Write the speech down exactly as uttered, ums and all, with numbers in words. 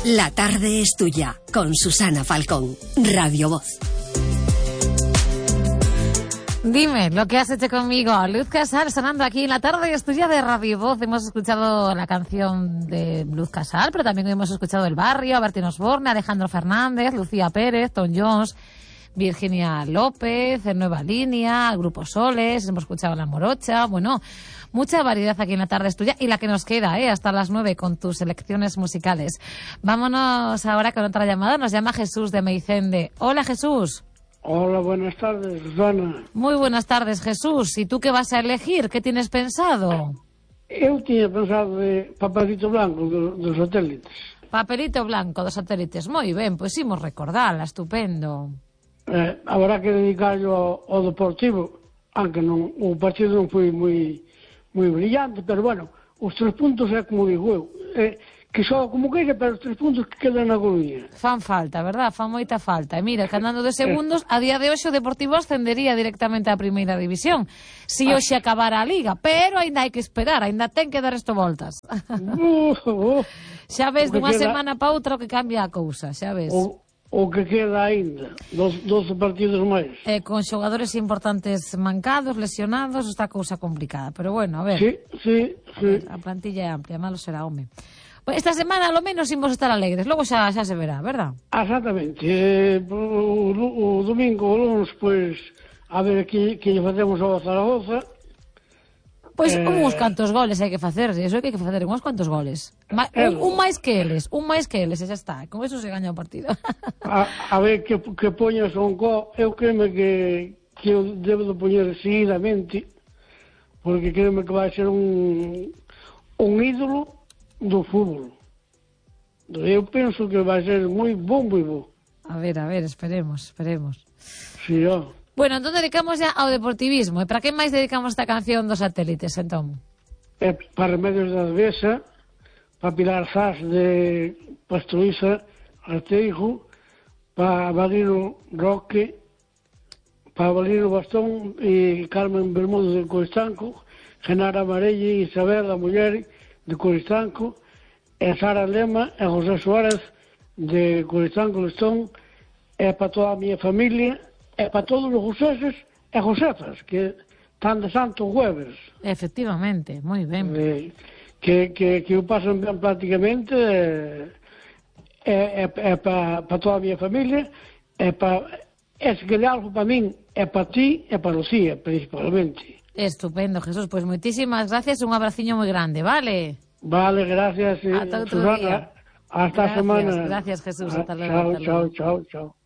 La tarde es tuya, con Susana Falcón, Radio Voz. Dime lo que has hecho conmigo. Luz Casal sonando aquí en La tarde es tuya de Radio Voz. Hemos escuchado la canción de Luz Casal, pero también hemos escuchado El Barrio, Bertín Osborne, Alejandro Fernández, Lucía Pérez, Tom Jones, Virginia López, en Nueva Línea, el Grupo Soles, hemos escuchado La Morocha. Bueno, mucha variedad aquí en La tarde es tuya y la que nos queda, ¿eh? Hasta las nueve con tus selecciones musicales. Vámonos ahora con otra llamada. Nos llama Jesús de Meicende. Hola, Jesús. Hola, buenas tardes, Susana. Muy buenas tardes, Jesús. ¿Y tú qué vas a elegir? ¿Qué tienes pensado? Eu tiña pensado de Papelito Blanco do, dos Satélites. Papelito Blanco dos Satélites. Moi ben, pois imos recordala, estupendo. Eh, habrá que dedicarlo ao, ao Deportivo, aunque non, o partido non foi moi moi brillante, pero bueno, os tres puntos é como digo eu, eh, que só como queira, pero os tres puntos que quedan na Coruña. Fan falta, verdad? Fan moita falta. E mira, que andando de segundos, a día de hoxe o Deportivo ascendería directamente á primeira división, si ah. hoxe acabara a Liga, pero aínda hai que esperar, aínda ten que dar isto voltas. Uh, uh, xa ves, dunha queda... semana pa outra o que cambia a cousa, xa ves. O... O que queda aínda, doce partidos máis. Eh, con xogadores importantes mancados, lesionados, está a cousa complicada. Pero bueno, a ver. Sí, sí, sí. A, ver, a plantilla é amplia, malo será, home. Pues esta semana, ao menos, imos estar alegres. Logo xa, xa se verá, verdad? Exactamente. Eh, o, o, o domingo, o lunes, pois, a ver que, que lle facemos ao Zaragoza. Pois eh... uns cantos goles hai que facer, iso é que hai que facer, uns cantos goles. Ma, un, un máis que eles, un máis que eles, e xa está. Con eso se gaña o partido. a, a ver que, que poña Sonco, eu creme que, que eu debo de poñer seguidamente, porque creme que vai ser un, un ídolo do fútbol. Eu penso que vai ser moi bon, moi bon. A ver, a ver, esperemos, esperemos. Sí, ó. Bueno, entón dedicamos ya ao deportivismo. E para que máis dedicamos esta canción dos Satélites, entón? É para Remedios da Devesa, para Pilar Zas de Pastoriza Arteijo, para Valino Roque, para Valino Bastón e Carmen Bermudo de Coristanco, Genara Marelli e Isabel, a muller de Coristanco, e Sara Lema e José Suárez de Coristanco Lestón, e para toda a miña familia, e para todos os joseses e josefas que están de Santo Jueves. Efectivamente, moi ben. Eh, que, que, que o pasan ben prácticamente, e eh, eh, eh, para pa toda a miña familia, e para ese que de algo para min, e para ti, e para Lucía, principalmente. Estupendo, Jesús. Pois pues moitísimas gracias, un abraciño moi grande, vale? Vale, gracias, eh, Ata outro Susana. día. Hasta a semana. Gracias, Jesús. Hasta luego. Chao, hasta chao, luego. chao, chao.